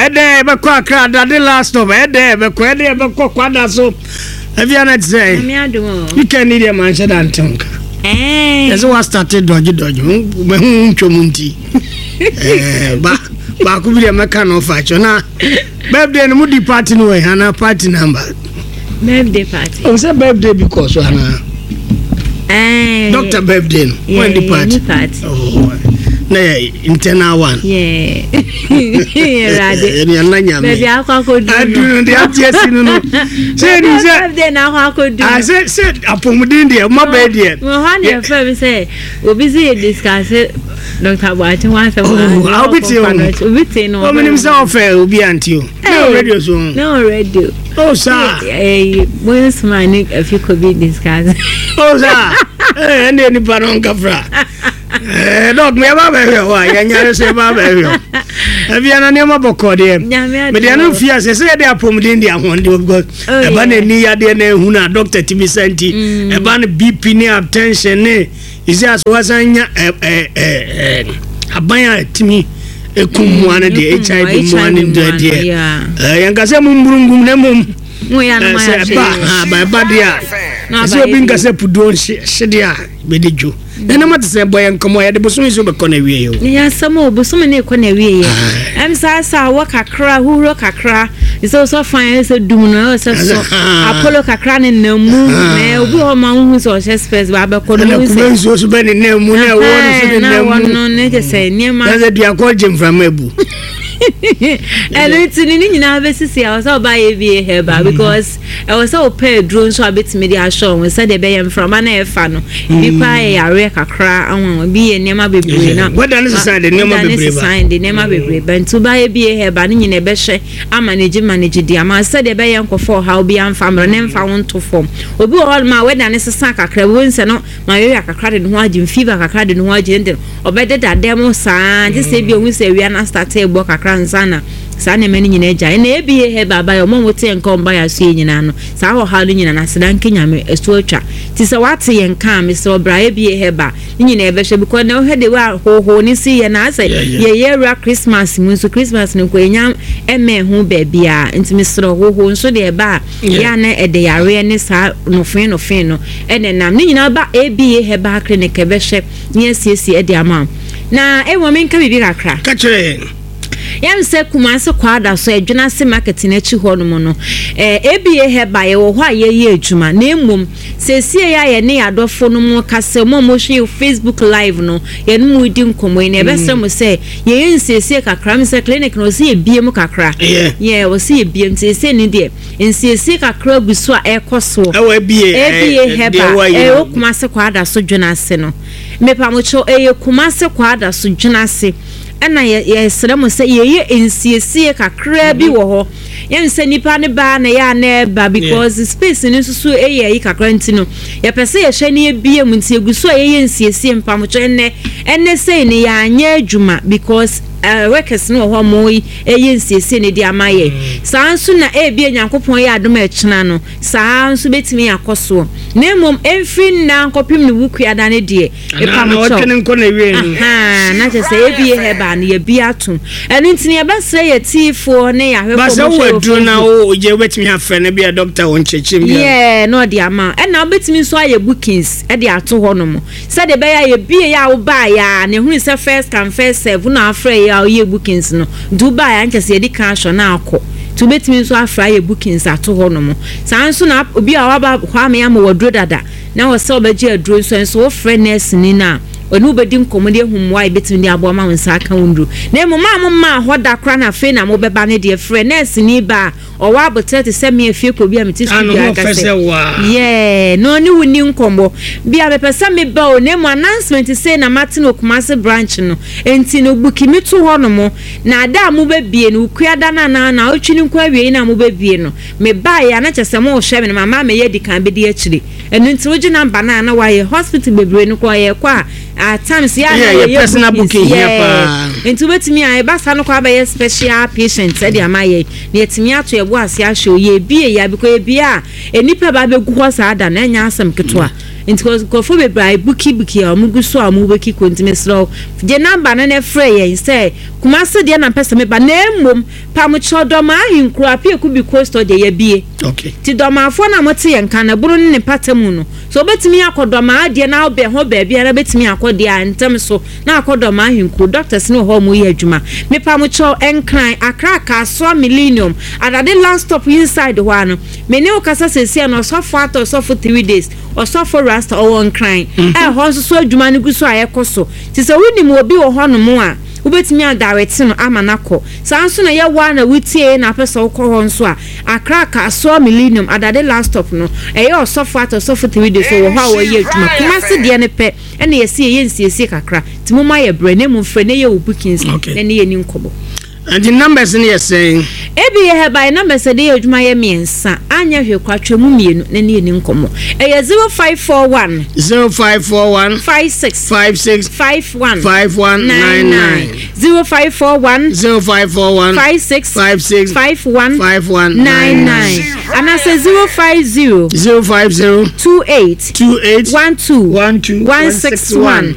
Ɛdɛn ɛbɛkɔ Accra dade last stop. Ɛdɛn ɛbɛkɔ ɛdɛn ɛbɛkɔ kwada so. Ɛfia na te sɛ. Weekend ni deɛ manhyɛ da nte nka. Yɛsɛ wa start dɔgye dɔgye. Mahu ntwam nti. Ba baako bi deɛ mɛka no ɔfa kyɛ na birthday no mo di party no wɔ ana party number. Birthday party. O sɛ birthday bi kɔ so ana. Doctor birthday no. When di party. Party. Oh, na yɛ internal one. Yeah. Ɛwurade. Ɛni ɛna nyame. Baabi akɔ akɔdu no. Adunu deɛ ate asi no no. Sɛ ɛni sɛ. Birthday na akɔ akɔdu. Ah sɛ sɛ apɔmuden deɛ ɔma bɛɛ deɛ. Wɔ hɔ na yɛfrɛ mi sɛ obi sɛ yɛ discuss Dr. Boakye ho asɛm. Oh, ah, obi te o. Obi te no. Omi nim sɛ ɔfɛ obi anti o. Na o radio so. Na o radio. Oh saa. Eh, mo nsoma ne afiko bi discuss. Oh saa. Eh, ɛnna nipa no nkafra. Eh, dɔk me yɛba bɛhwɛ hɔ a yɛnyare so yɛba bɛhwɛ hɔ afia na nneɛma bɔkɔ deɛ mede ɛno mfie ase sɛ yɛde apɔmuden de ahoɔden because oh, ɛba na ani yadeɛ na ɛhu no a dɔkta tumi sa nti mm. ɛba no bp ne attention ne ɛsi aso wasan nya aban a tumi ɛkum mmoa no deɛ hiv mmoa no deɛ yɛnka sɛ momburungum na mmom sɛ ɛba ɛba deɛ a ɛsɛ obi nka sɛ puduo nhyedeɛ a bɛdi dwo Nana mo te sɛ bɔ yɛ nkɔmɔ yɛde bosome nso bɛkɔ na wie o. Ne yɛ asɛm o bosome ne kɔ na wie yɛ. Ɛm saa saa wɔ kakra huhuro kakra sɛ wosɔ fan ɛyɛ sɛ dum no ɛyɛ sɛ sɔ apollo kakra ne nam mu na obi hɔ ma wohu sɛ ɔhyɛ spɛs ba abɛkɔ no hu sɛ. Ɛna nsuo so bɛ ne nam mu na ɛwɔ no so ne nam mu. Na no ne kyɛ sɛ nneɛma. Na sɛ duakɔ gye mframa abu. Ɛno nti ne ne nyinaa bɛsisi a ɔsɛ ɔba yɛ bie hɛba because. Ɛwɔ sɛ wopɛ aduro nso a wobɛtumi de ahyɛ wo ho sɛdeɛ ɛbɛyɛ mframa no a ɛfa no ebi mm. koraa yɛ yareɛ kakra anwanwa bi yɛ nneɛma bebree na wɛda ne sesan de nneɛma bebree ba sesan de nneɛma mm. bebree ba nti wobayɛ bi yɛ ba ne nyina ɛbɛhyɛ ama ne gye ma ne gye di ama sɛdeɛ ɛbɛyɛ nkɔfɔ ɔhaw bi amfa mmerɛ ne mfa wo nto fam obi wɔ hɔ nom a wɛda ne sesa kakra bi wɔn sɛ no malaria kakra de ne ho agye fever kakra de ne ho agye ne de ɔbɛdeda dɛm saa gye sɛ ebi ohun sɛ awia no asate bɔ kakra nsa na Saa nneɛma no nyinaa gyae. Ɛna ABA Herbal baeɛ, wɔn a wɔte yɛn nka wɔn baeɛ aso yɛ nyinaa no, saa ɔhaw no nyinaa no, aseda nka Nyame, ɛso atwa. Nti sɛ woate yɛn nka a, mesrɛ wo bra ABA Herbal, ne nyinaa yɛbɛhwɛ because na wohwɛ the way a hoohoo no si yɛ no, ayɛ sɛ yɛyɛ awura Christmas mu nso, Christmas no nko yɛnya mmɛn ho baabiara. Nti mesrɛ wo, hoohoo nso deɛ ɛba a, yɛ a na ɛde yareɛ ne saa nofee nofee no ɛna ɛnam. Ne nyinaa ba ABA Herbal Clinic ɛbɛhwɛ ne asiesie de ama wo. Na mmom menka biribi kakra. Ka kyerɛ yɛn. Yɛn sɛ Kumasi Kwadaso Adwenase market no akyi hɔ nom no, eh, ABA Herbal yɛwɔ hɔ a yɛyɛ adwuma. Na mmom, seesei a yɛne yɛn adɔfo no mo kasa, mo a mohwɛ yɛn Facebook live no, yɛne mo redi nkɔmmɔ yi, na yɛbɛsrɛ mo sɛ yɛyɛ nsiesie kakra. Me sɛ clinic no, ɔsɛ yɛbie mu kakra. Yeah, ɔsɛ yɛbie mu. Seesei no deɛ, nsiesie kakra gu so a ɛrekɔ soɔ. Ɛwɔ ABA, ABA Herbal, ɛwɔ Kumasi Kwadaso Dwenase no. Mepamokyɛw, ɛyɛ Kumasi Kwadaso Dwenase. Ɛna yɛ yɛsrɛ mo sɛ yɛyɛ nsiesie kakraa bi wɔ hɔ. Yɛn sɛ nipa no ba na yɛ a na ɛba because space no nso so yɛ ayi kakra nti no yɛpɛ sɛ yɛhwɛ na yɛbie mu nti yɛgu so a yɛyɛ nsiesie mpamokyɛ ɛnɛ ɛnɛ sei no yɛanyɛ adwuma because uh, workers no wɔ hɔ mo ɛyɛ nsiesie no de ama yɛ. Mm. Saa nso na ebia Nyankopɔn yɛ adom a ɛkyena no saa nso bɛtumi akɔ soɔ. Na mmom ɛmfiri nna nkɔpem ne wukuada no deɛ Anaa na ɔtwe ne nkɔ na ewie no. Ahaa, na kyerɛ sɛ ebie herbal no yɛbi atom. Ɛno nti no yɛbɛsrɛ yɛ tiefoɔ ne yɛ ahwɛfoɔ Ba sɛ mo wowɔ hwɛ wɔ aduro na Facebook. wo gye wobɛtumi afrɛ no bi a dɔkta wɔ nkyerɛkyerɛ mu bi a. Yeah, na ɔde ama wo. Ɛna wobɛtumi nso ayɛ bookings de ato hɔ nom. Sɛdeɛ ɛbɛyɛ a yɛbie yɛ a wobaeɛ a na ɛhunu sɛ first come first serve na afrɛ yɛ a woyɛ bookings no. Nti wobaeɛ a nkyɛ sɛ yɛdi kan ahwɛ na akɔ. Nti wobɛtumi nso afrɛ ayɛ bookings ato hɔ nom. Saa nso na obi a waba hɔ ama yɛama wo aduro dada. Na wɔ sɛ ɔbɛgye aduro nso nso wofrɛ nɛɛseni no a, ɔne wo bɛdi nkɔmmɔ de ahu mmoa a yɛbɛtumi de aboa ma wo nsa aka wo nnuro. Na mmom a mommaa hɔ da koraa na afei na mobɛba no deɛ, frɛ nɛɛseni ba a ɔwɔ aboterɛ te sɛ me afie kɔ bi a mete studio Ano aka ɔfɛ sɛ, sɛ waa. Yeah, na ɔne wo nni nkɔmmɔ. Bi a mepɛ sɛ meba o, na mmom announcement sei na mate no wɔ Kumasi branch no, enti no buki me to hɔnom, na da a mobɛbie no, Wukuada no anaa naawɔtwe no nko awiei no a mobɛbie no, Mebaeɛ a na kyerɛ sɛ morehwɛ me no mama mɛyɛ adi kan bɛdi akyire. Ɛno nti wogye number no a na wayɛ. Hospital bebree no koraa yɛkɔ a at times yɛ a na Yeah, yɛyɛ personal bookings. booking hia Yeah. paa. Nti wobɛtumi a ɛba saa no koraa bɛyɛ special patient de ama yɛn na yɛatumi ato yɛn bo ase ahwɛ o. Yɛbie yɛ a because yɛbie a nnipa ba bɛgu hɔ saa da no ɛnyɛ asɛm ketewa. Nti nkurɔfoɔ bebree abukibuki a wɔn gu so a wɔn bɛki kɔ nti mesrɛ wo gye number no na frɛ yɛn sɛ Kumasi deɛ na mpɛ sɛ meba na mmom pamokyerɛ Dɔmaa ahenkuro Apiaku bi coastal deɛ yɛabie. Okay. Nti Dɔmaafoɔ no a mote yɛn nka no ɛbono ne ne mpata mu no sɛ wobɛtumi akɔ Dɔmaa deɛ na wobɛn hɔ baabiara bɛtumi akɔ deɛ a ntɛm so na akɔ Dɔmaa ahenkuro doctors no wɔ hɔ a wɔyɛ adwuma. Mepamokyɛw Nkran, Accra, Kasoa, Millennium, Adade last stop inside hɔ ara no Me ne wo kasa seesei no ɔsɔfo atɔ ɔsɔfo 3 days, ɔsɔfo Rasta ɔwɔ Nkran a ɛhɔ nso so adwuma no gu so a ɛkɔ so. Nti sɛ wonim obi wɔ hɔnom a wobɛtumi adarete no ama no akɔ. Saa nso na ɛyɛ wo ara na wotieɛ na apɛ sɛ wokɔ hɔ nso a, Accra Kasoa Millennium Adade last stop no ɛyɛ ɔsɔfo atɔ ɔsɔfo 3 days ɔwɔ hɔ a ɔyɛ adwuma. Kumasi deɛ no pɛ ɛna yɛse yɛyɛ nsiesie kakra nti momma yɛ brɛ na mmom frɛ na yɛ wo bookings na ne yɛni nkɔmmɔ. Nti numbers no yɛ sɛn? Ebi yɛ hɛ by numbers a ɛde yɛ adwuma yɛ mmiɛnsa, anyɛ hwee koraa twa mu mmienu na ne yɛni nkɔmmɔ. Ɛyɛ 0541. 0541. 56. 56. 51. 51. 99. 0541. 0541. 56. 56. 51. 51. 99. Anaasɛ 050. 050. 28. 28. 12. 12. 161.